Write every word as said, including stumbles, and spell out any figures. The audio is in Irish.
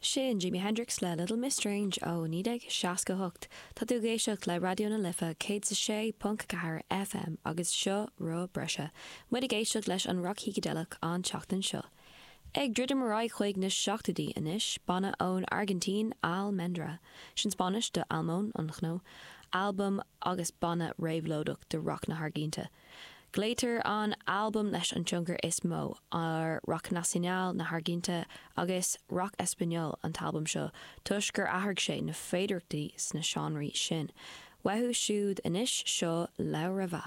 Sin Jimi Hendrix le Little Miss Strange ó naoi déag seasca hocht. Tá tú ag éisteacht le Raidió na Life céad is a sé ponc ceathair FM agus seo Rogha Breise. Muid ag éisteacht leis an roc shícideileach an tseachtain seo. Ag druidim ar aghaidh chuig na seachtóidí anois, banna ón Airgintín, Almendra. Sin Spáinnis do almond, an chnó. Albam agus banna réabhlóideach de roc na hAirgintíne. Glaotar an albam leis an tionchar is mó ar rock nacional na hAirgintíne agus rock español an t-albam seo toisc gur athraigh sé na féidearthachtaí sna seánraí sin. Uathu siúd anois seo Laura Va.